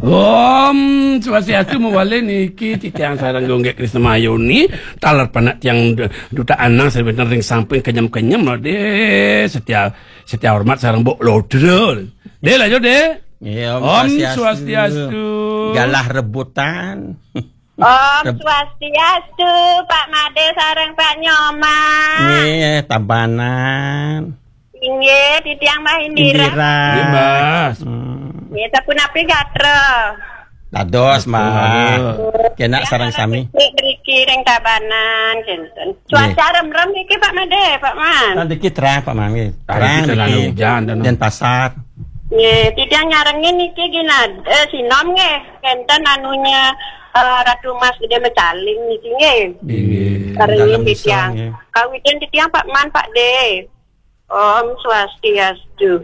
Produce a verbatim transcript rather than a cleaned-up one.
Om Swastiastu, mawali niki titiang sareng Gunggik Krisna Mayuni, taler panak tiang du-, duta anang sareng ring samping kenyem-kenyem lo deh, setia, setia hormat sareng Mbok Lodra. Deh, lanjut deh. Iya, Om Om Swastiastu. Swastiastu. Galah rebutan. Om Reb- Swastiastu, Pak Made sareng Pak Nyoman. Nggih, Tabanan. Inggih, titiang Mbah Indira. Indira. Nggih, Mas. Hmm. Nggih, sapunapi gatra? Dados, Mbah. Dados. Kena sareng sami. Niki mriki ring Tabanan, kinten. Cuaca remrem niki, Pak Made, Pak Man. Nah, niki terang, Pak Man, nggih. Terang niki. Hujan, dan Denpasar. Nggih, titiang nyarengin niki ginad-, eh, sinom nggih. Kinten anunya, eh, Ratu Mas Gede Mecaling niki nggih. Nggih. Sarengin dalem titiang. Nggih. Kawitin titiang Pak Man, Pak De. Om Swastiastu.